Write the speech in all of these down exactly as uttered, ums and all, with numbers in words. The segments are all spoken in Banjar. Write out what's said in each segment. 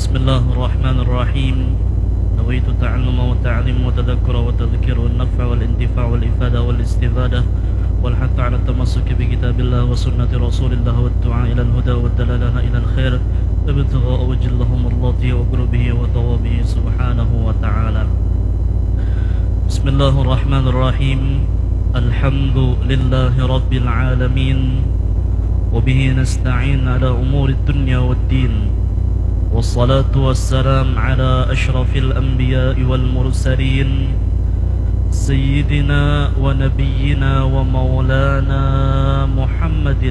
بسم الله الرحمن الرحيم. نويت التعلم والتعليم والتذكر والتذكير والنفع والانتفاع والإفادة والاستفادة والحث على التمسك بكتاب الله وسنة رسول الله والدعاء إلى الهدى والدلالة إلى الخير ابتغاء وجه الله ومرضاته وقربه وثوابه سبحانه وتعالى. بسم الله الرحمن الرحيم. الحمد لله رب العالمين، وبه نستعين على أمور الدنيا والدين، والصلاة والسلام على أشرف الأنبياء والمرسلين، سيدنا ونبينا ومولانا محمد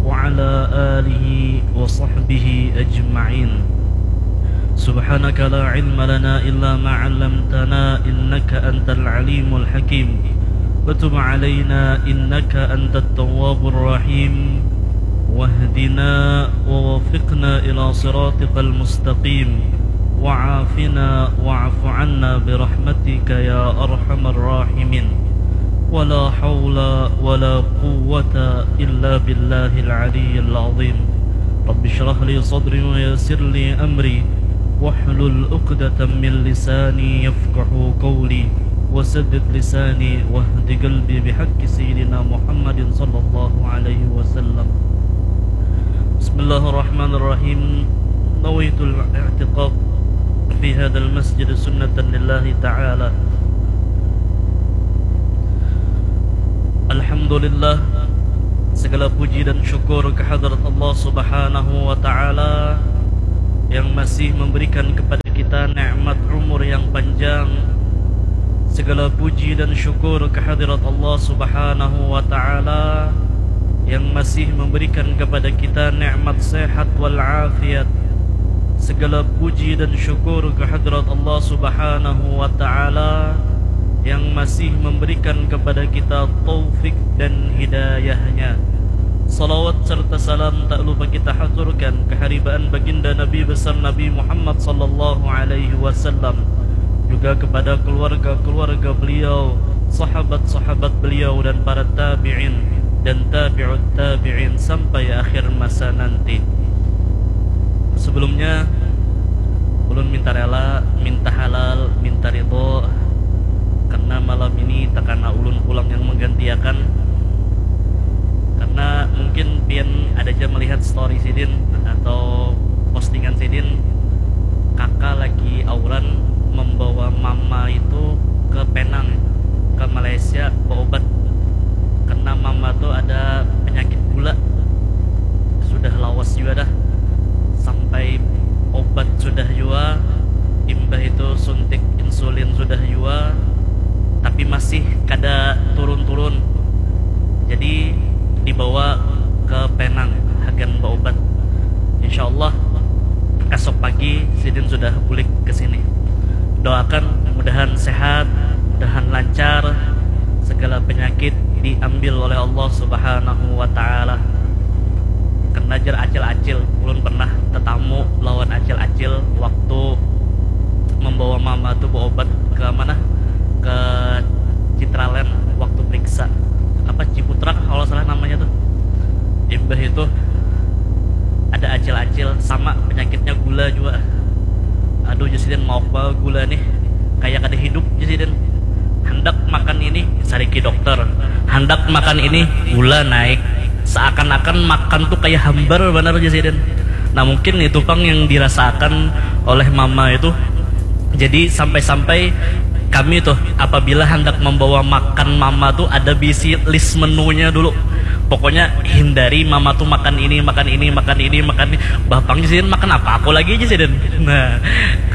وعلى آله وصحبه أجمعين. سبحانك لا علم لنا إلا ما علمتنا إنك أنت العليم الحكيم. وتب علينا إنك أنت التواب الرحيم. واهدنا ووفقنا إلى صراطك المستقيم. وعافنا واعف عنا برحمتك يا أرحم الراحمين. ولا حول ولا قوة إلا بالله العلي العظيم. رب اشرح لي صدري ويسر لي أمري واحلل عقدة من لساني يفقهوا قولي وسدد لساني واهد قلبي بحق سيدنا محمد صلى الله عليه وسلم. بسم الله الرحمن الرحيم. نويت الاعتكاف في هذا المسجد سنة لله تعالى. Alhamdulillah, segala puji dan syukur kehadrat Allah Subhanahu wa Ta'ala yang masih memberikan kepada kita nikmat umur yang panjang. Segala puji dan syukur kehadrat Allah Subhanahu wa Ta'ala yang masih memberikan kepada kita nikmat sehat wal afiat. Segala puji dan syukur kehadrat Allah Subhanahu wa Ta'ala yang masih memberikan kepada kita taufik dan hidayahnya. Salawat serta salam tak lupa kita haturkan keharibaan baginda Nabi besar Nabi Muhammad sallallahu alaihi wasallam, juga kepada keluarga-keluarga beliau, sahabat-sahabat beliau, dan para tabi'in dan tabi'ut tabi'in sampai akhir masa nanti. Sebelumnya, ulun minta rela, minta halal, minta ridho, karena malam ini takana ulun pulang yang menggantiakan. Karena mungkin pian ada ja melihat story sidin atau postingan sidin, kaka lagi auran membawa mama itu ke Penang, ke Malaysia, beobat. Karena mama tu ada penyakit gula. Sudah lawas jua dah. Sampai obat sudah jua, imbah itu suntik insulin sudah jua, tapi masih kada turun-turun. Jadi dibawa ke Penang hagan beobat. Insya Allah esok pagi sidin sudah bulik ke sini. Doakan mudahan sehat, mudahan lancar, segala penyakit diambil oleh Allah Subhanahu wa Ta'ala. Karena jar acil-acil, ulun pernah tetamu lawan acil-acil waktu membawa mama tu beobat ke mana? Ke Citraland waktu periksa apa, Ciputra kalau salah namanya tuh. Imbah itu ada acil-acil sama penyakitnya gula juga. Aduh, jar sidin, mauk banar gula nih, kayak kada hidup, jar sidin. Handak makan ini, sariki dokter. Handak makan ini, gula naik. Seakan-akan makan tuh kayak hambar banar, jar sidin. Nah, mungkin itu pang yang dirasakan oleh mama itu. Jadi sampai-sampai kami tuh apabila hendak membawa makan mama tuh ada bisi list menunya dulu. Pokoknya hindari mama tuh makan ini, makan ini, makan ini, makan ini. Bapang sidin makan apa aku lagi aja sidin. Nah,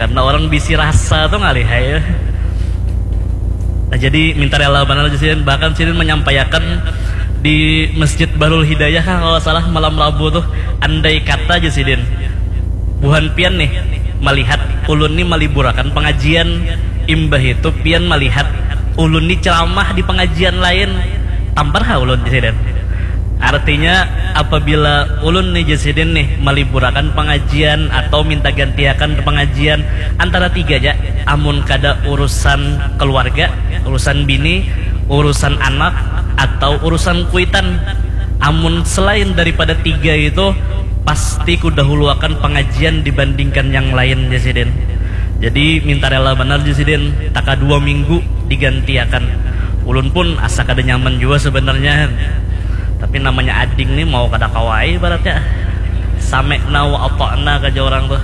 karena orang bisi rasa tuh ngalih ya. Nah, jadi minta rela banar aja sidin. Bahkan sidin menyampaikan di Masjid Bahrul Hidayah kan kalau salah malam Rabu tuh, andai kata aja sidin buhan pian nih melihat ulun nih maliburakan pengajian, imbah itu pian melihat ulun nih ceramah di pengajian lain, tampar ha ulun di sini. Artinya apabila ulun nih jasidin nih maliburakan pengajian atau minta gantiakan pengajian antara tiga aja, amun kada urusan keluarga, urusan bini, urusan anak, atau urusan kuitan. Amun selain daripada tiga itu, Pasti kudahuluakan pangajian dibandingkan yang lain, jar sidin. Jadi minta rela banar, jar sidin, taka dua minggu digantiakan. Ulun pun asa kada nyaman jua sebenarnya, tapi namanya ading ni mau kada kawa ai ibaratnya. Sami'na wa ata'na, kaja urang tuh.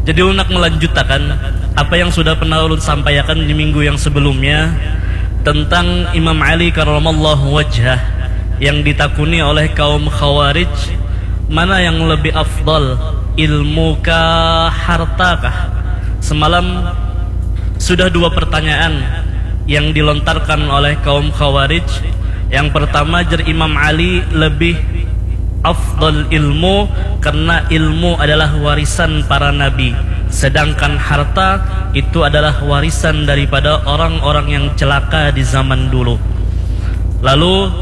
Jadi ulun nak melanjutakan apa yang sudah pernah ulun sampaiakan di minggu yang sebelumnya tentang Imam Ali karramallahu wajhah yang ditakuni oleh kaum Khawarij, mana yang lebih afdal, ilmu kah, harta kah? Semalam sudah dua pertanyaan yang dilontarkan oleh kaum Khawarij. Yang pertama, jar Imam Ali, lebih afdal ilmu karena ilmu adalah warisan para nabi, sedangkan harta itu adalah warisan daripada orang-orang yang celaka di zaman dulu. Lalu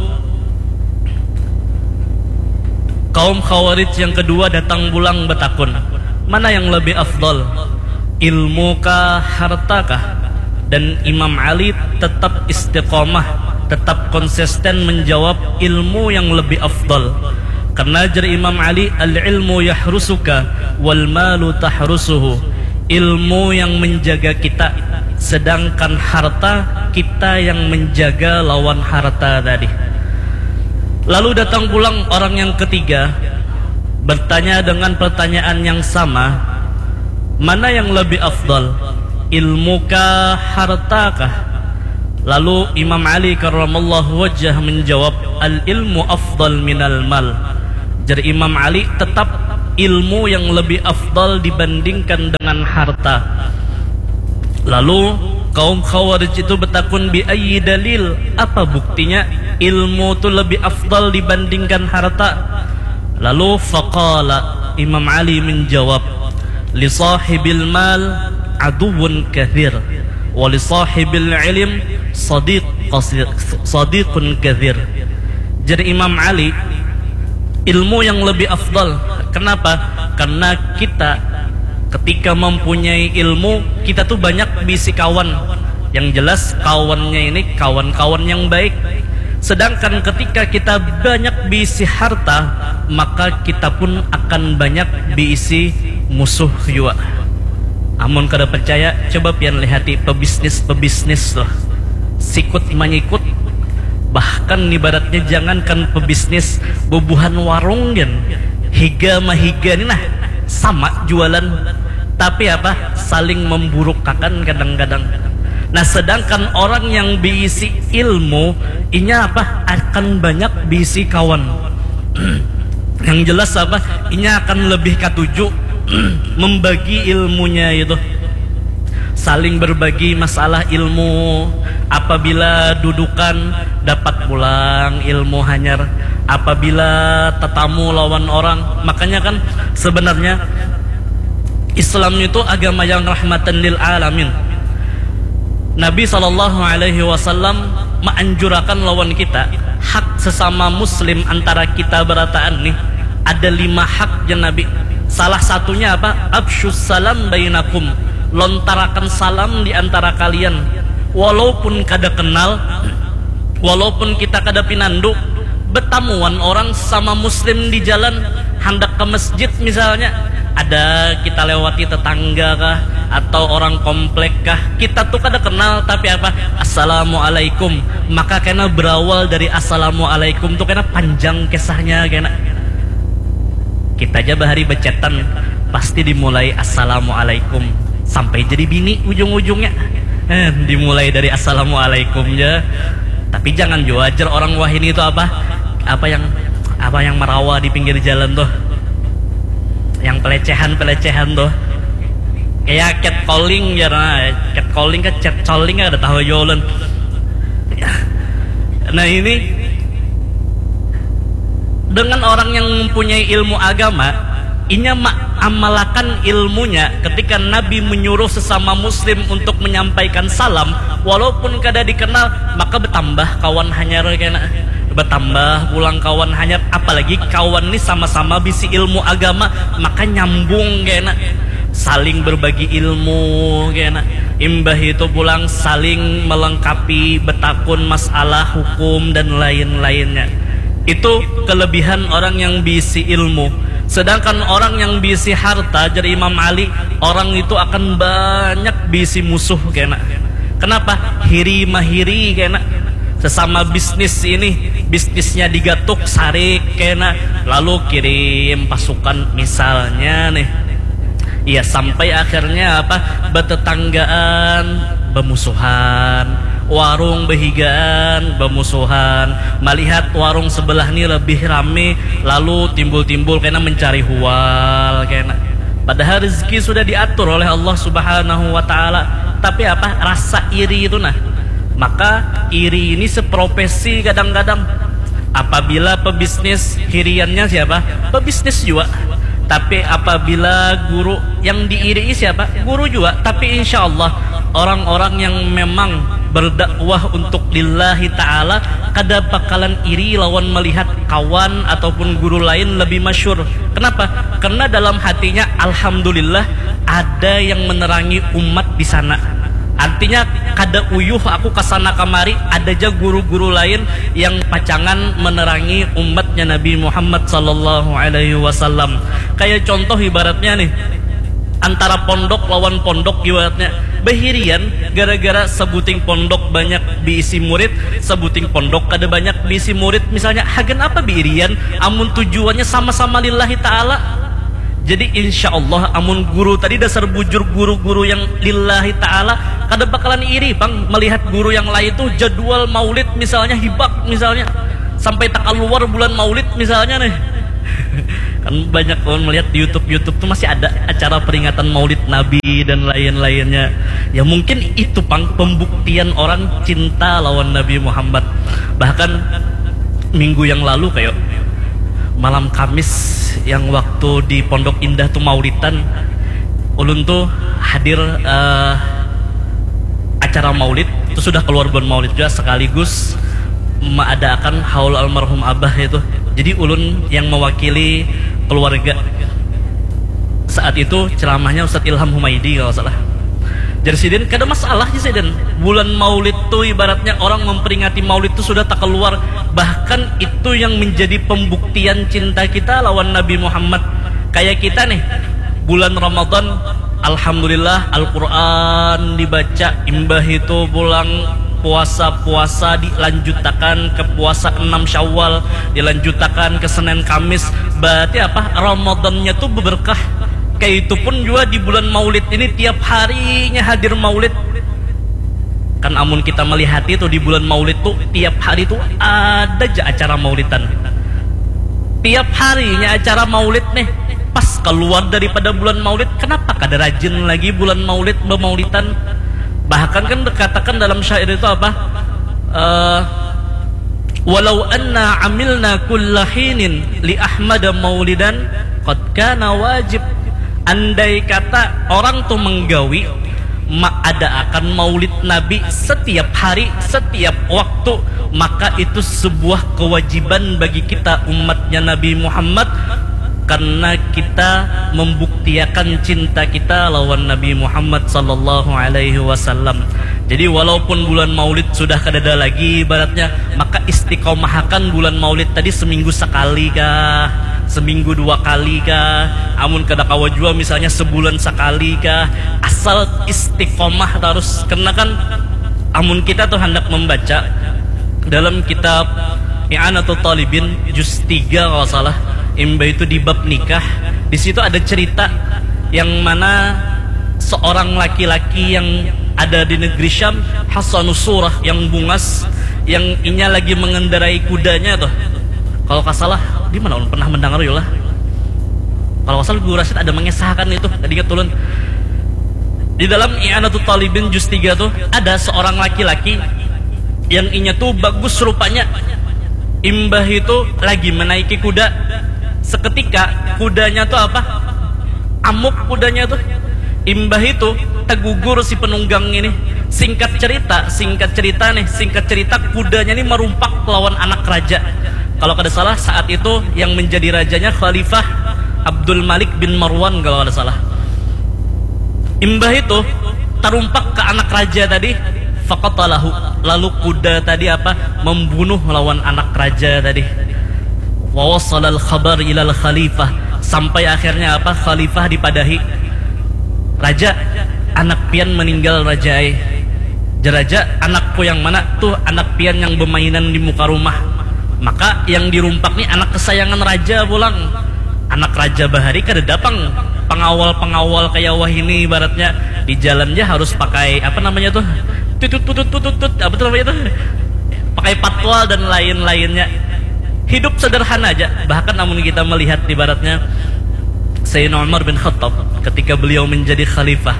kaum Khawarij yang kedua datang pulang betakun, mana yang lebih afdal, ilmu kah, harta kah? Dan Imam Ali tetap istiqomah, tetap konsisten menjawab ilmu yang lebih afdal. Karena jar Imam Ali, al-ilmu yahrusuka wal malu tahrusuhu. Ilmu yang menjaga kita, sedangkan harta kita yang menjaga lawan harta tadi. Lalu datang pulang orang yang ketiga, bertanya dengan pertanyaan yang sama, mana yang lebih afdal, ilmu kah, harta kah? Lalu Imam Ali karramallahu wajhah menjawab, al ilmu afdal minal mal. Jar Imam Ali, tetap ilmu yang lebih afdal dibandingkan dengan harta. Lalu kaum Khawarij itu betakun, bi ayyi dalil, apa buktinya ilmu tu lebih afdal dibandingkan harta? Lalu faqala, Imam Ali menjawab, li sahibil mal aduwwun kathir, wa li sahibil ilm sadiq qasir, sadiqun kathir. Jar Imam Ali, ilmu yang lebih afdal. Kenapa? Karena kita ketika mempunyai ilmu, kita tuh banyak bisi kawan. Yang jelas kawannya ini kawan-kawan yang baik. Sedangkan ketika kita banyak bisi harta, maka kita pun akan banyak bisi musuh jua. Amun kada percaya, coba pian lihati pebisnis-pebisnis tuh. Sikut manyikut. Bahkan ibaratnya jangankan pebisnis, bubuhan warung gin. Higa mahiga ni nah, sama jualan. Tapi apa? Saling memburukakan kadang-kadang. Nah, sedangkan orang yang beisi ilmu, inya apa? Akan banyak beisi kawan. Yang jelas apa? Inya akan lebih katuju membagi ilmunya itu. Saling berbagi masalah ilmu. Apabila dudukan, dapat pulang ilmu hanyar. Apabila tetamu lawan orang, makanya kan sebenarnya Islam itu agama yang rahmatan lil alamin. Nabi sallallahu alaihi wasallam maanjurakan lawan kita hak sesama muslim antara kita berataan nih, ada lima hak jar Nabi. Salah satunya apa? Absyus salam bainakum, lontarakan salam di antara kalian. Walaupun kada kenal, walaupun kita kada pinandu, betamuan orang sama muslim di jalan, handak ke masjid misalnya, ada kita lewati tetangga kah, atau orang komplek kah, kita tuh kada kenal, tapi apa, assalamualaikum, maka kena berawal dari assalamualaikum tuh kena panjang kisahnya kena. Kita aja bahari becetan pasti dimulai assalamualaikum, sampai jadi bini ujung-ujungnya. Eh, dimulai dari assalamualaikum ja. Tapi jangan jua ajar orang wahini itu apa, apa yang apa yang merawa di pinggir jalan tuh, yang pelecehan-pelecehan tuh, kayak catcalling ya, nah, catcalling ke catcalling ada tahu jua ulun. Nah, ini dengan orang yang mempunyai ilmu agama, inya amalakan ilmunya ketika Nabi menyuruh sesama muslim untuk menyampaikan salam walaupun kada dikenal, maka bertambah kawan hanyar kena, bertambah pulang kawan hanyar, apalagi kawan ni sama-sama bisi ilmu agama, maka nyambung kena, saling berbagi ilmu kena. Imbah itu pulang saling melengkapi, betakun masalah hukum dan lain-lainnya. Itu kelebihan orang yang bisi ilmu. Sedangkan orang yang bisi harta, jar Imam Ali, orang itu akan banyak bisi musuh kena. Kenapa? Hiri mahiri kena. Sesama bisnis ini, bisnisnya digatuk, sarik kena, lalu kirim pasukan misalnya nih. Ya, sampai akhirnya apa? Betetanggaan, bemusuhan, warung behigaan, bemusuhan, melihat warung sebelah ni lebih rame, lalu timbul-timbul kena mencari hual kena. Padahal rezeki sudah diatur oleh Allah Subhanahu wa Ta'ala. Tapi apa? Rasa iri itu nah. Maka iri ini seprofesi kadang-kadang. Apabila pebisnis, hiriannya siapa? Pebisnis juga. Tapi apabila guru, yang diirii siapa? Guru juga. Tapi insya Allah, orang-orang yang memang berdakwah untuk lillahi ta'ala kada bakalan iri lawan melihat kawan ataupun guru lain lebih masyhur. Kenapa? Karena dalam hatinya, alhamdulillah, ada yang menerangi umat di sana. Artinya, kada uyuh aku kasana kamari, ada ja guru-guru lain yang pacangan menerangi umatnya Nabi Muhammad sallallahu alaihi wasallam. Kayak contoh ibaratnya nih, antara pondok lawan pondok ibaratnya, behirian gara-gara sebuting pondok banyak diisi murid, sebuting pondok kada banyak diisi murid. Misalnya, hagan apa biirian amun tujuannya sama-sama lillahi ta'ala? Jadi insya Allah, amun guru tadi dasar bujur guru-guru yang lillahi ta'ala, kada bakalan iri pang melihat guru yang lain tuh jadwal maulid misalnya hibak misalnya, sampai takaluar bulan maulid misalnya nih. Kan banyak kawan melihat di YouTube, YouTube tuh masih ada acara peringatan maulid Nabi dan lain-lainnya. Ya mungkin itu pang pembuktian orang cinta lawan Nabi Muhammad. Bahkan minggu yang lalu kayak malam Kamis yang waktu di Pondok Indah tuh maulidan, ulun tuh hadir eh, acara maulid itu sudah keluar bulan maulid juga sekaligus meadakan haul almarhum abah itu. Jadi ulun yang mewakili keluarga saat itu ceramahnya Ustadz Ilham Humaidi kalau salah. Jadi sidin kada masalah sih sidin. Bulan maulid tuh ibaratnya orang memperingati maulid tuh sudah tak keluar. Bahkan itu yang menjadi pembuktian cinta kita lawan Nabi Muhammad. Kayak kita nih, bulan Ramadan, alhamdulillah Al-Quran dibaca, imbah itu pulang puasa-puasa dilanjutakan ke puasa enam Syawal, dilanjutakan ke Senin Kamis. Berarti apa? Ramadannya tuh berkah. Kayak itu pun juga di bulan Maulid ini tiap harinya hadir Maulid. Kan amun kita melihat itu di bulan Maulid tuh tiap hari tuh ada aja acara maulidan. Tiap harinya acara maulid nih. Pas keluar daripada bulan maulid, kenapa kada rajin lagi bulan maulid bemaulidan? Bahkan kan dikatakan dalam syair itu apa? Eh, walau anna amilna kulla hinin li Ahmada maulidan qad kana wajib. Andai kata orang tuh menggawi maadaakan maulid Nabi setiap hari, setiap waktu, maka itu sebuah kewajiban bagi kita umatnya Nabi Muhammad karena kita membuktiakan cinta kita lawan Nabi Muhammad sallallahu alaihi wasallam. Jadi walaupun bulan maulid sudah kadada lagi ibaratnya, maka istiqomahakan bulan maulid tadi seminggu sekali kah, seminggu dua kali kah, amun kada kawa jua misalnya sebulan sekali kah, asal istiqomah terus. Karena kan amun kita tuh hendak membaca dalam kitab I'anatul Talibin juz tiga kalau salah, imbah itu di bab nikah, di situ ada cerita yang mana seorang laki-laki yang ada di negeri Syam, Hasanus Surah, yang bungas, yang inya lagi mengendarai kudanya tuh. Kalau nggak salah, di mana ulun pernah mendengar yolah. Kalau nggak salah Guru Rasid ada mengisahkan itu, tadi ingat ulun. Di dalam I'anatut Talibin juz tiga tuh ada seorang laki-laki yang inya tuh bagus rupanya. Imbah itu lagi menaiki kuda. Seketika kudanya tuh apa? Amuk kudanya tuh. Imbah itu tegugur si penunggang ini. Singkat cerita, singkat cerita nih, singkat cerita kudanya ini merumpak lawan anak raja. Kalau kada salah saat itu yang menjadi rajanya Khalifah Abdul Malik bin Marwan kalau kada salah. Imbah itu tarumpak ke anak raja tadi, faqatalahu. Lalu kuda tadi apa? Membunuh lawan anak raja tadi. Wa wasalal khabar ilal khalifah, sampai akhirnya apa, khalifah dipadahi, "Raja, anak pian meninggal, Raja ai." Jar raja, "Anakku yang mana?" "Tuh, anak pian yang bemainan di muka rumah." Maka yang dirumpak ni anak kesayangan raja pulang. Anak raja bahari kadada pang pengawal-pengawal kaya wahini, ibaratnya di jalan ja harus pakai apa namanya tuh, tutut tutut tutut tut, apa tuh namanya tuh, pakai patwal dan lain-lainnya. Hidup sederhana aja. Bahkan amun kita melihat ibaratnya Sayyidina Umar bin Khattab ketika beliau menjadi khalifah,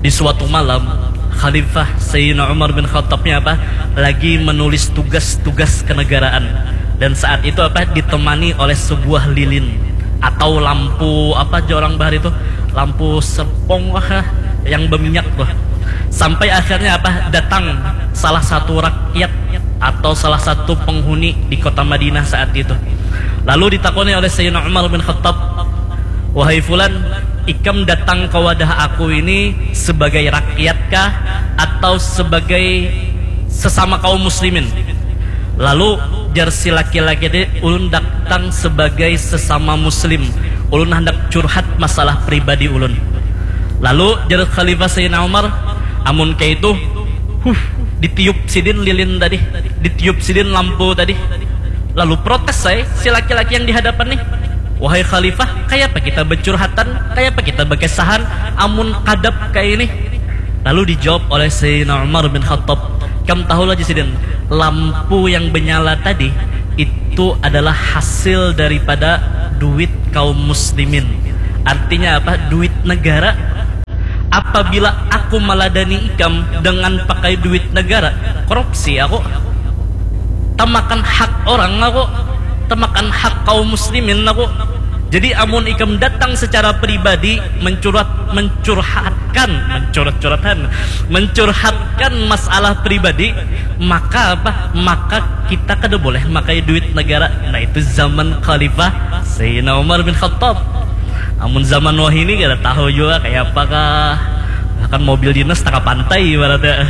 di suatu malam, Khalifah Sayyidina Umar bin Khattab ni apa, lagi menulis tugas-tugas kenegaraan. Dan saat itu apa, ditemani oleh sebuah lilin atau lampu, apa aja orang bahari itu, lampu serpong kah, yang berminyak tuh. Sampai akhirnya apa, datang salah satu rakyat atau salah satu penghuni di kota Madinah saat itu. Lalu ditakoni oleh Sayyidina Umar bin Khattab, "Wahai fulan, ikam datang ke wadah aku ini sebagai rakyat kah atau sebagai sesama kaum muslimin?" Lalu jar si laki-laki tadi, "Ulun datang sebagai sesama muslim. Ulun hendak curhat masalah pribadi ulun." Lalu jar Khalifah Sayyidina Umar, "Amun kayak itu, huh, ditiup sidin lilin tadi, ditiup sidin lampu tadi." Lalu protes saya si laki-laki yang di hadapan nih, "Wahai Khalifah, kayapa kita bercurhatan, kayapa kita berkesahan, amun kadap kayak ini?" Lalu dijawab oleh Sayyidina Umar bin Khattab, "Kam tahu lagi sidin, lampu yang menyala tadi itu adalah hasil daripada duit kaum muslimin." Artinya apa? Duit negara. Apabila aku meladani ikam dengan pakai duit negara, korupsi aku. Tamakan hak orang aku, tamakan hak kaum muslimin aku. Jadi amun ikam datang secara pribadi mencurhat, mencurhatkan, mencurhat-curhatan, mencurhatkan masalah pribadi, maka apa? Maka kita kada boleh makai duit negara. Nah, itu zaman Khalifah Sayyidina Umar bin Khattab. Amun zaman wahini kada tahu juga kayak apakah, bahkan mobil dinas tengah pantai ibaratnya.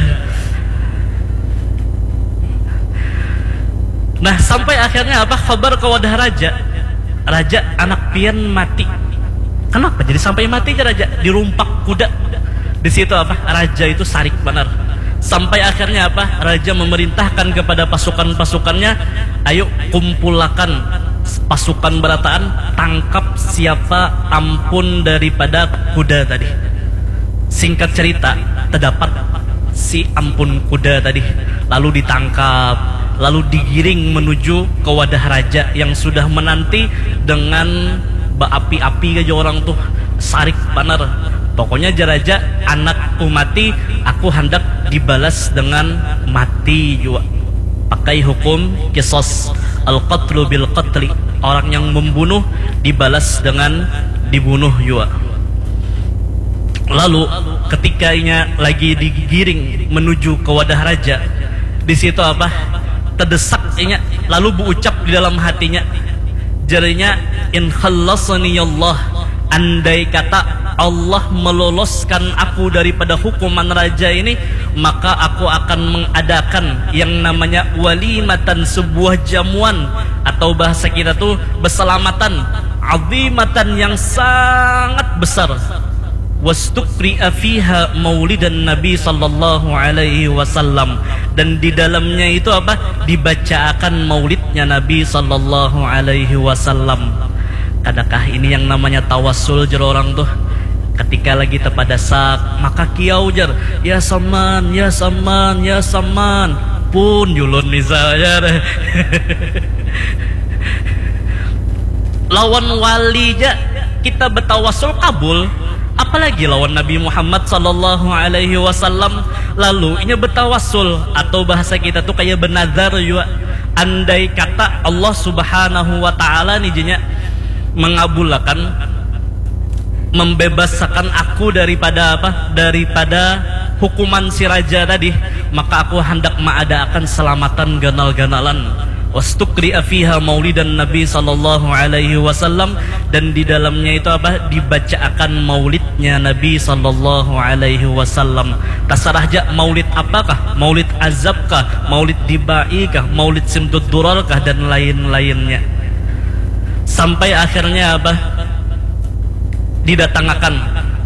Nah, sampai akhirnya apa, khabar ke wadah raja, "Raja, anak pian mati." "Kenapa jadi sampai mati aja raja?" "Dirumpak kuda." Di situ apa, raja itu sarik banar. Sampai akhirnya apa, raja memerintahkan kepada pasukan-pasukannya, "Ayo kumpulakan pasukan berataan, tangkap siapa ampun daripada kuda tadi." Singkat cerita, terdapat si ampun kuda tadi, lalu ditangkap, lalu digiring menuju ke wadah raja yang sudah menanti dengan berapi-api aja orang tuh, sarik banar. Pokoknya jar raja, "Anakku mati, aku hendak dibalas dengan mati juga." Pakai hukum kisos, al-qatlu bil qatli. Orang yang membunuh dibalas dengan dibunuh juga. Lalu ketika inya lagi digiring menuju ke wadah raja, di situ apa, terdesak inya, lalu berucap di dalam hatinya, jarinya, "In khallasani Allah, andai kata Allah meloloskan aku daripada hukuman raja ini, maka aku akan mengadakan yang namanya walimatan, sebuah jamuan, atau bahasa kita tuh beselamatan, azimatan, yang sangat besar." Wastukri'a fiha maulidan Nabi sallallahu alaihi wasallam, dan di dalamnya itu apa, dibacaakan maulidnya Nabi sallallahu alaihi wasallam. Kadakah ini yang namanya tawasul, jar orang tuh? Ketika lagi tepadasak, maka kiau jar, "Ya saman, ya saman, ya saman." Pun julun misalnya. Lawan wali ja kita betawasul kabul, apalagi lawan Nabi Muhammad sallallahu alaihi wasallam. Lalu inya betawasul, atau bahasa kita tuh kayak benazar juga. Andai kata Allah Subhanahu wa Ta'ala nih, jenya, mengabulakan, membebasakan aku daripada apa? Daripada hukuman si raja tadi, maka aku hendak maadaakan selamatan ganal-ganalan. Wastukri'a fiha maulidan Nabi sallallahu alaihi wasallam, dan di dalamnya itu apa? Dibacaakan maulidnya Nabi sallallahu alaihi wasallam. Tasarah ja maulid apakah? Maulid azab kah? Maulid dibai kah? Maulid simtud durar kah? Dan lain-lainnya. Sampai akhirnya apa? Didatangakan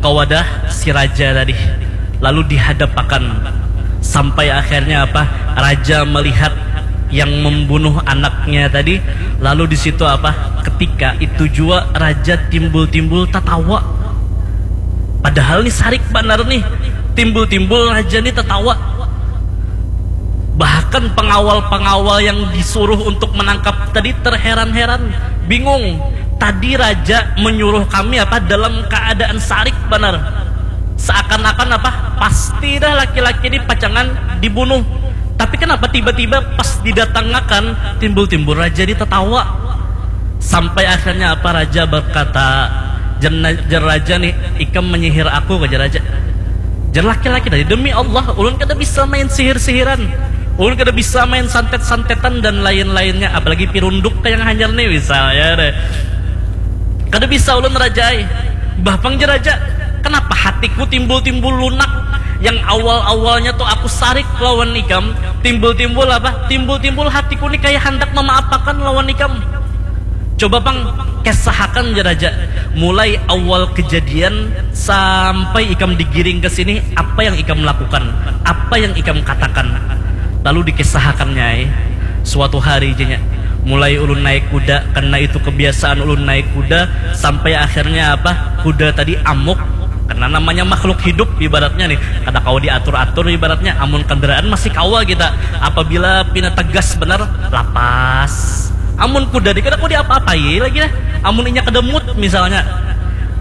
ka wadah si raja tadi, lalu dihadapakan. Sampai akhirnya apa? Raja melihat yang membunuh anaknya tadi, lalu di situ apa? Ketika itu jua raja timbul-timbul tatawa. Padahal nih sarik banar nih, timbul-timbul raja nih tatawa. Bahkan pengawal-pengawal yang disuruh untuk menangkap tadi terheran-heran, bingung. Tadi raja menyuruh kami apa dalam keadaan sarik banar. Seakan-akan apa pasti dah laki-laki ini pacangan dibunuh. Tapi kenapa tiba-tiba pas didatangakan timbul-timbul raja ini tatawa? Sampai akhirnya apa raja berkata, jar raja nih, ikam menyihir aku, jar raja. Jar laki-laki tadi, demi Allah, ulun kada bisa main sihir-sihiran. Ulun kada bisa main santet-santetan dan lain-lainnya, apalagi pirunduk kayak hanyar nih misalnya deh. Kada bisa ulun raja ai. Bah pang jar raja, kenapa hatiku timbul-timbul lunak? Yang awal-awalnya tuh aku sarik lawan ikam, timbul-timbul apa? Timbul-timbul hatiku nih kayak handak memaapakan lawan ikam. Coba pang kesahakan jar raja, mulai awal kejadian sampai ikam digiring ke sini, apa yang ikam lakukan, apa yang ikam katakan. Lalu dikesahakannya ai. Suatu hari jenya, mulai ulun naik kuda, karena itu kebiasaan ulun naik kuda, sampai akhirnya apa, kuda tadi amuk. Karena namanya makhluk hidup ibaratnya nih, kada kawa diatur-atur ibaratnya. Amun kendaraan masih kawa kita, apabila pina tegas benar, lapas. Amun kuda nih kada kawa diapa-apai lagi lah. Amun inya kada mood misalnya,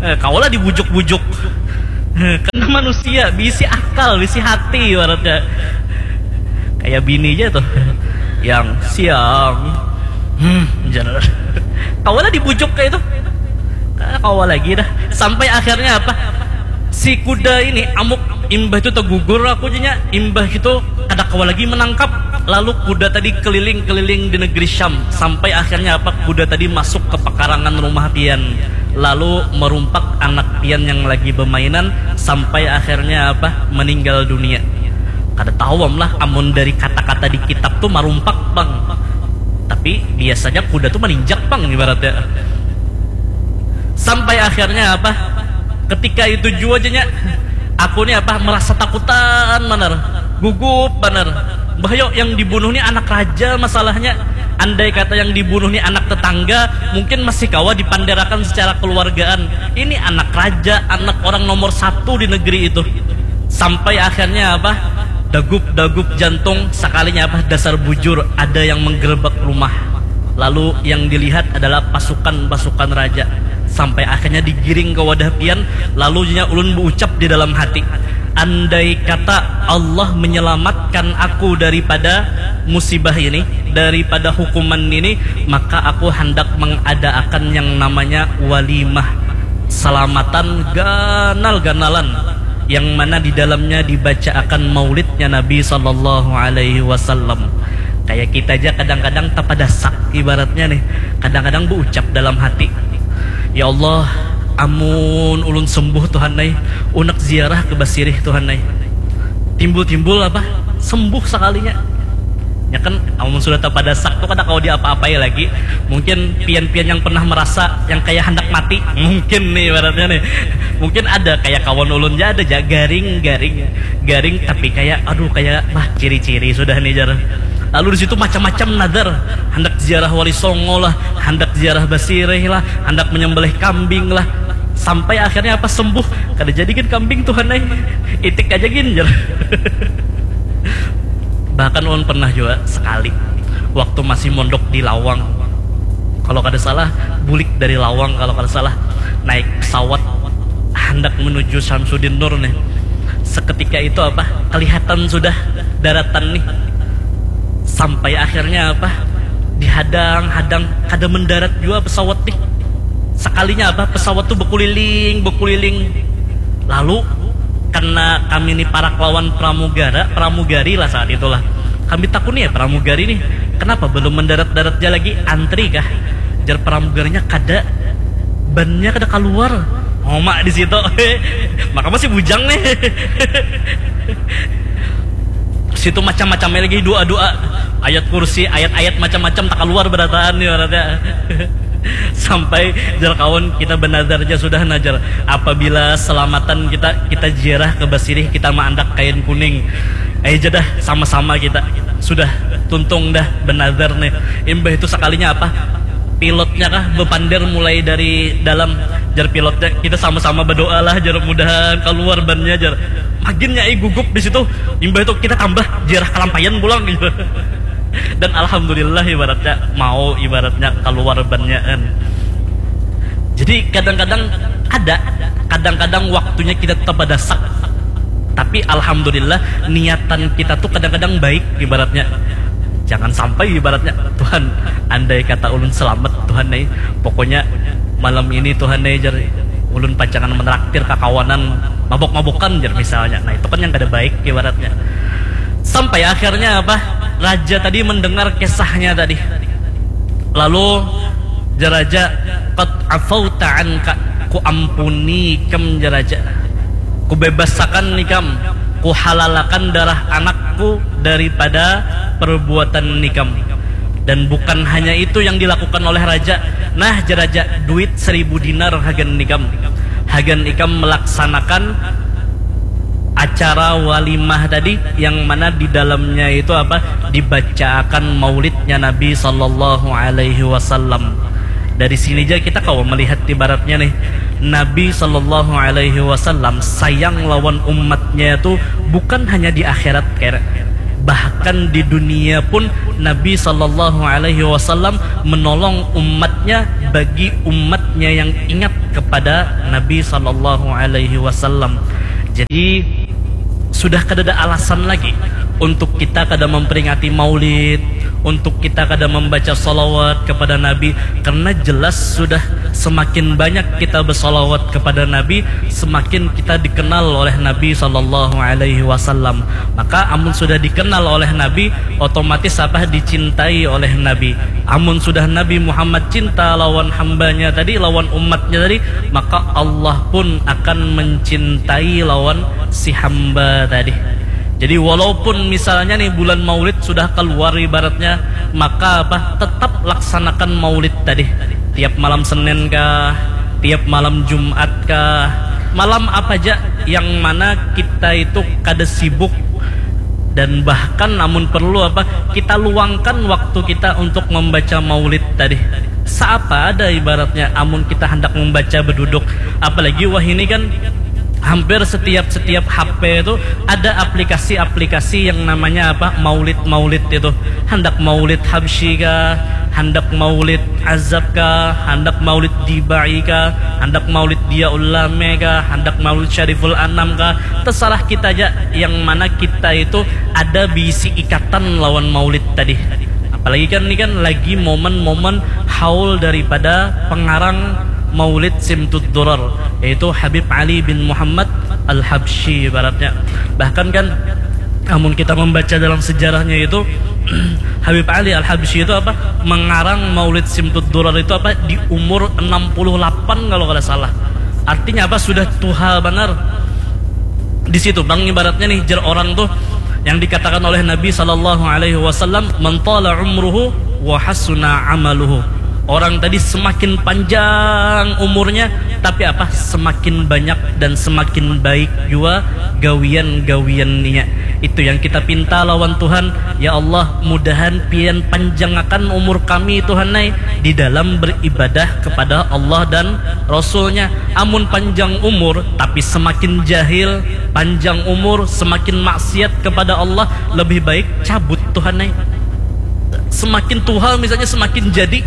eh, kawalah dibujuk-bujuk. Karena manusia bisi akal, bisi hati ibaratnya. Kayak bini aja tuh, yang siang, hmm, jar. Kawalah dibujuk kayak itu. Kada kawa lagi dah. Sampai akhirnya apa? Si kuda ini amuk, imbah itu tegugur aku jenya, imbah itu kada kawa lagi menangkap. Lalu kuda tadi keliling-keliling di negeri Syam, sampai akhirnya apa? Kuda tadi masuk ke pekarangan rumah pian, lalu merumpak anak pian yang lagi bermainan, sampai akhirnya apa? Meninggal dunia. Kada tahu am lah, amun dari kata-kata di kitab tuh marumpak pang. Tapi biasanya kuda tuh maninjak pang ibaratnya. Sampai akhirnya apa? Ketika itu jua jenya, aku nih apa, merasa takutan banar, gugup banar. Bah yo, yang dibunuh nih anak raja masalahnya. Andai kata yang dibunuh nih anak tetangga, mungkin masih kawa dipanderakan secara keluargaan. Ini anak raja, anak orang nomor satu di negeri itu. Sampai akhirnya apa? Dagup-dagup jantung, sekalinya apa? Dasar bujur, ada yang menggerebek rumah. Lalu yang dilihat adalah pasukan-pasukan raja. Sampai akhirnya digiring ke wadah pian, lalu nya ulun berucap di dalam hati, andai kata Allah menyelamatkan aku daripada musibah ini, daripada hukuman ini, maka aku hendak mengadaakan yang namanya walimah, salamatan ganal-ganalan, yang mana di dalamnya dibacaakan maulidnya Nabi sallallahu alaihi wasallam. Kayak kita aja kadang-kadang tapadasak ibaratnya nih, kadang-kadang berucap dalam hati, ya Allah, amun ulun sembuh Tuhan ai, unek ziarah ke Basirih Tuhan ai. Timbul-timbul apa? Sembuh sekalinya. Ya kan, amun sudah tapadasak tuh kada kawa diapa-apai lagi. Mungkin pian-pian yang pernah merasa yang kayak hendak mati, mungkin nih ibaratnya nih. Mungkin ada kayak kawan ulun ja, ada ja garing, garing, garing, tapi kayak aduh, kayak bah, ciri-ciri sudah nih jar. Lalu di situ macam-macam nadar, hendak ziarah Wali Songo lah, hendak ziarah Basirih lah, hendak menyembelih kambing lah. Sampai akhirnya apa, sembuh. Kada jadi gin kambing Tuhan ai. Itik aja gin jar. Bahkan ulun pernah juga sekali waktu masih mondok di Lawang, kalau kada salah, bulik dari Lawang kalau kada salah, naik pesawat hendak menuju Samsudin Nur nih. Seketika itu apa, kelihatan sudah daratan nih. Sampai akhirnya apa, dihadang-hadang, kada mendarat juga pesawat nih. Sekalinya apa, pesawat tuh berkuliling, berkuliling. Lalu karena kami ini parak lawan pramugara, pramugari lah saat itulah. Kami takuni ya pramugari nih, kenapa belum mendarat-darat ja lagi, antri kah? Jar pramugarinya, kada, bannya kada keluar. Homak di situ. Maka masih bujang nih. Situ macam-macamnya lagi, doa-doa, ayat kursi, ayat-ayat macam-macam tak keluar berataan nih ibaratnya. Sampai jar kawan kita benazar ja sudah najar. Apabila selamatan kita, kita ziarah ke Basirih, kita maandak kain kuning. Ayo jadah sama-sama kita. Sudah tuntung dah benazar nih. Imbah itu sekalinya apa? Pilotnya kah bepander mulai dari dalam, jar pilotnya, kita sama-sama berdoa lah jar mudahan keluar bannya jar. Maginnya eh gugup di situ. Imbah itu kita tambah ziarah kalampayan pulang gitu. Dan alhamdulillah ibaratnya mau ibaratnya keluar bannya kan. Jadi kadang-kadang ada, kadang-kadang waktunya kita tetap ada sak. Tapi alhamdulillah niatan kita tuh kadang-kadang baik ibaratnya. Jangan sampai ibaratnya Tuhan, andai kata ulun selamat Tuhan nih, pokoknya malam ini Tuhan nih jar ulun pacangan menraktir kakawanan mabok-mabokan jar misalnya. Nah itu kan yang kada baik ibaratnya. Sampai akhirnya apa, raja tadi mendengar kisahnya tadi. Lalu jeraja, qad afauta anka, ku ampuni ikam jeraja, ku bebasakan ikam, ku halalakan darah anakku daripada perbuatan ikam. Dan bukan hanya itu yang dilakukan oleh raja. Nah jeraja, duit seribu dinar hagan ikam, hagan ikam melaksanakan acara walimah tadi yang mana di dalamnya itu apa, dibacaakan maulidnya Nabi sallallahu alaihi wasallam. Dari sini aja kita kawa melihat ibaratnya nih, Nabi sallallahu alaihi wasallam sayang lawan umatnya itu bukan hanya di akhirat kere, bahkan di dunia pun Nabi sallallahu alaihi wasallam menolong umatnya bagi umatnya yang ingat kepada Nabi sallallahu alaihi wasallam. Jadi sudah kada ada alasan lagi untuk kita kada memperingati maulid, untuk kita kada membaca salawat kepada Nabi, karena jelas sudah semakin banyak kita bersalawat kepada Nabi, semakin kita dikenal oleh Nabi sallallahu alaihi wasallam. Maka amun sudah dikenal oleh Nabi, otomatis apa, dicintai oleh Nabi. Amun sudah Nabi Muhammad cinta lawan hambanya tadi, lawan umatnya tadi, maka Allah pun akan mencintai lawan si hamba tadi. Jadi walaupun misalnya nih bulan maulid sudah keluar ibaratnya, maka apa, tetap laksanakan maulid tadi. Tiap malam Senin kah, tiap malam Jumat kah, malam apa aja yang mana kita itu kada sibuk, dan bahkan namun perlu apa, kita luangkan waktu kita untuk membaca maulid tadi. Seapa ada ibaratnya amun kita hendak membaca beduduk, apalagi wah ini kan hampir setiap setiap H P itu ada aplikasi-aplikasi yang namanya apa, maulid-maulid itu. Hendak maulid Habsyi kah, hendak maulid Azab kah, hendak maulid Dibai kah, hendak maulid Diaul Lame kah, hendak maulid Syariful Anam kah, terserah kita aja yang mana kita itu ada bisi ikatan lawan maulid tadi. Apalagi kan ini kan lagi momen-momen haul daripada pengarang maulid Simtud Durar, yaitu Habib Ali bin Muhammad Al-Habsyi ibaratnya. Bahkan kan amun kita membaca dalam sejarahnya itu Habib Ali Al-Habsyi itu apa, mengarang maulid Simtud Durar itu apa, di umur enam puluh lapan kalau kada salah. Artinya apa, sudah tuha banar. Di situ bang ibaratnya nih, jer orang tuh yang dikatakan oleh Nabi sallallahu alaihi wasallam, "Man tala umruhu wa hasuna amaluhu." Orang tadi semakin panjang umurnya, tapi apa, semakin banyak dan semakin baik jua gawian-gawiannya. Itu yang kita pinta lawan Tuhan, ya Allah, mudahan pian panjangakan umur kami Tuhan ai di dalam beribadah kepada Allah dan Rasulnya. Amun panjang umur tapi semakin jahil, panjang umur semakin maksiat kepada Allah, lebih baik cabut Tuhan ai. Semakin tuha misalnya semakin jadi.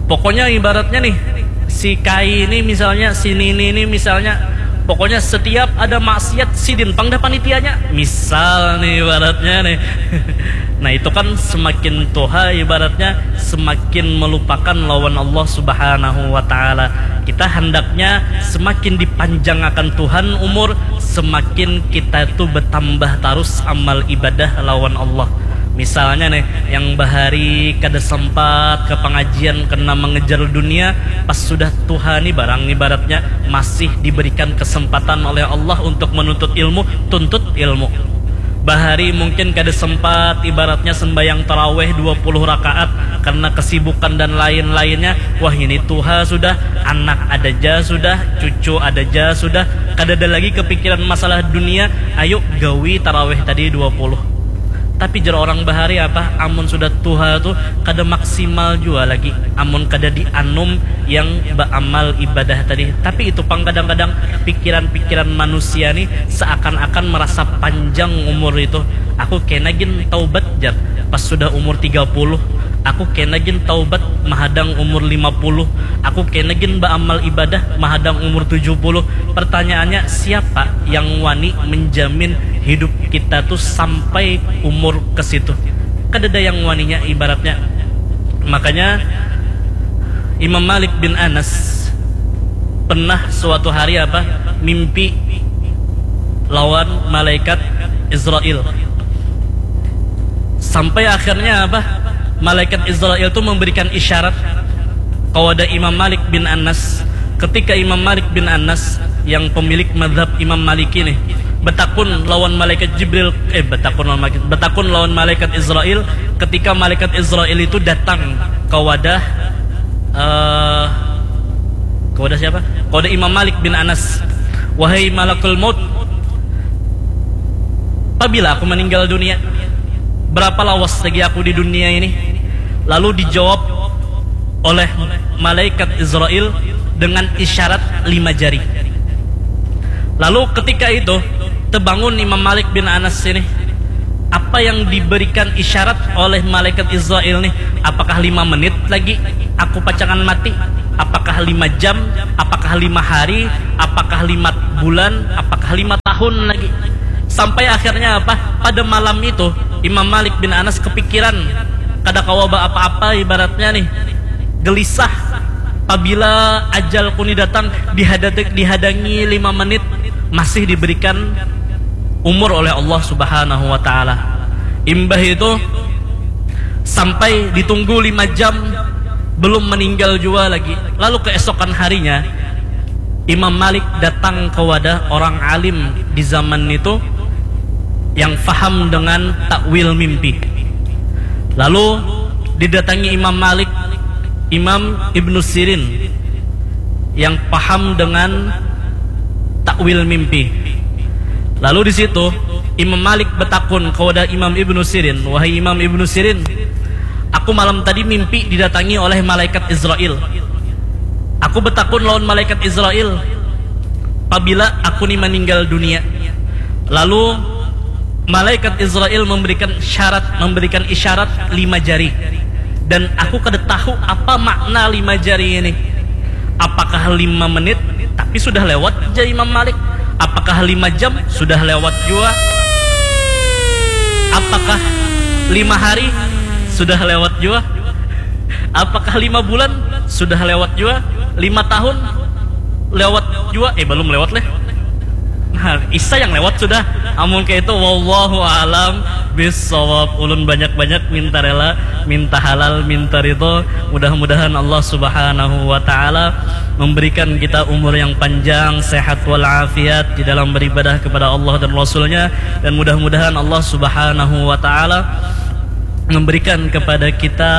Pokoknya ibaratnya nih, si Kai ini misalnya, si Nini ini misalnya, pokoknya setiap ada maksiat sidin pang dah panitianya. Misal nih ibaratnya nih. Nah itu kan semakin tuha ibaratnya semakin melupakan lawan Allah Subhanahu wa taala. Kita hendaknya semakin dipanjangakan Tuhan umur, semakin kita itu bertambah terus amal ibadah lawan Allah. Misalnya nih, yang bahari kada sempat ke pengajian kena mengejar dunia, pas sudah tuha nih barang ibaratnya masih diberikan kesempatan oleh Allah untuk menuntut ilmu, tuntut ilmu. Bahari mungkin kada sempat ibaratnya sembayang taraweh dua puluh rakaat karena kesibukan dan lain-lainnya. Wah, ini tuha sudah, anak ada ja sudah, cucu ada ja sudah, kada ada lagi kepikiran masalah dunia. Ayo gawi taraweh tadi dua puluh. Tapi jar orang bahari apa, amun sudah tuha tu kada maksimal jua lagi amun kada dianum yang baamal ibadah tadi. Tapi itu pang kadang-kadang pikiran-pikiran manusia nih seakan-akan merasa panjang umur itu. Aku kena gin taubat jar pas sudah umur tiga puluh. Aku kena gin taubat mahadang umur lima puluh. Aku kena gin baamal ibadah mahadang umur tujuh puluh. Pertanyaannya, siapa yang wani menjamin hidup kita tuh sampai umur ke situ? Kadada yang waninya ibaratnya. Makanya Imam Malik bin Anas pernah suatu hari apa, mimpi lawan malaikat Israel. Sampai akhirnya apa, malaikat Israel tuh memberikan isyarat kepada Imam Malik bin Anas. Ketika Imam Malik bin Anas yang pemilik mazhab Imam Maliki nih betakun lawan malaikat Jibril, eh betakun lawan malaikat, betakun lawan malaikat Israel, ketika malaikat Israel itu datang ke wadah, eh ke wadah siapa? Ke wadah Imam Malik bin Anas. Wahai malakul maut, pabila aku meninggal dunia, berapa lawas lagi aku di dunia ini? Lalu dijawab oleh malaikat Israel dengan isyarat lima jari. Lalu ketika itu terbangun Imam Malik bin Anas ini. Apa yang diberikan isyarat oleh malaikat Israel nih? Apakah lima menit lagi aku pacangan mati? Apakah lima jam? Apakah lima hari? Apakah lima bulan? Apakah lima tahun lagi? Sampai akhirnya apa? Pada malam itu Imam Malik bin Anas kepikiran, kada kawa ba apa-apa ibaratnya nih, gelisah. Pabila ajal kuni datang, dihadangi lima menit masih diberikan umur oleh Allah Subhanahu wa Ta'ala. Imbah itu sampai ditunggu lima jam, belum meninggal jua lagi. Lalu keesokan harinya Imam Malik datang ke wadah orang alim di zaman itu yang faham dengan takwil mimpi. Lalu didatangi Imam Malik, Imam Ibnu Sirin yang paham dengan takwil mimpi. Lalu di situ Imam Malik betakun kepada Imam Ibnu Sirin, wahai Imam Ibnu Sirin, aku malam tadi mimpi didatangi oleh malaikat Israel. Aku betakun lawan malaikat Israel, pabila aku ni meninggal dunia. Lalu malaikat Israel memberikan syarat, memberikan isyarat lima jari. Dan aku kada tahu apa makna lima jari ini. Apakah lima menit tapi sudah lewat, jar Imam Malik? Apakah lima jam? Sudah lewat jua. Apakah lima hari? Sudah lewat jua. Apakah lima bulan? Sudah lewat jua. Lima tahun? Lewat jua. Eh, belum lewat leh. Nah, isa yang lewat sudah. Amun kayak itu, wallahu alam bisawab. Ulun banyak-banyak minta rela, minta halal, minta ridho. Mudah-mudahan Allah Subhanahu wa Ta'ala memberikan kita umur yang panjang, sehat walafiat di dalam beribadah kepada Allah dan Rasulnya, dan mudah-mudahan Allah Subhanahu wa Ta'ala memberikan kepada kita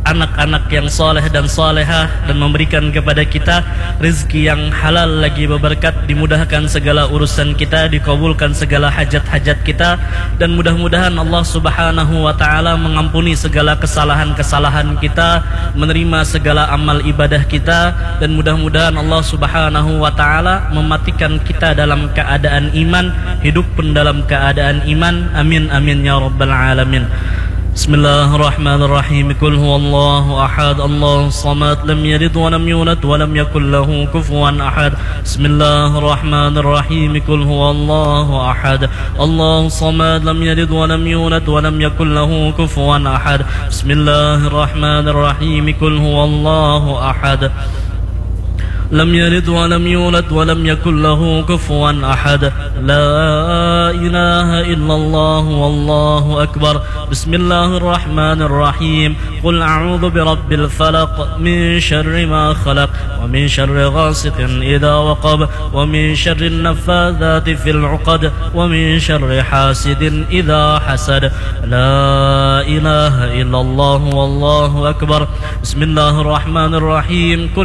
anak-anak yang soleh dan solehah, dan memberikan kepada kita rezeki yang halal lagi berberkat, dimudahkan segala urusan kita, dikabulkan segala hajat-hajat kita, dan mudah-mudahan Allah Subhanahu wa Ta'ala mengampuni segala kesalahan-kesalahan kita, menerima segala amal ibadah kita, dan mudah-mudahan Allah Subhanahu wa Ta'ala mematikan kita dalam keadaan iman, hidup pun dalam keadaan iman. Amin, amin, ya rabbal alamin. Bismillahirrahmanirrahim. Qul huwallahu ahad, Allahus samad, lam yalid wa lam yulad wa lam yakul lahu kufuwan ahad. Bismillahirrahmanirrahim. Qul huwallahu ahad, Allahus samad, lam yalid wa lam yulad wa lam yakul lahu kufuwan ahad. Bismillahirrahmanirrahim. Qul huwallahu ahad. لم يلد ولم يولد ولم يكن له كفوا أحد. لا إله إلا الله والله أكبر. بسم الله الرحمن الرحيم. قل أعوذ برب الفلق، من شر ما خلق، ومن شر غاسق إذا وقب، ومن شر النفاثات في العقد، ومن شر حاسد إذا حسد. لا إله إلا الله والله أكبر. بسم الله الرحمن الرحيم. قل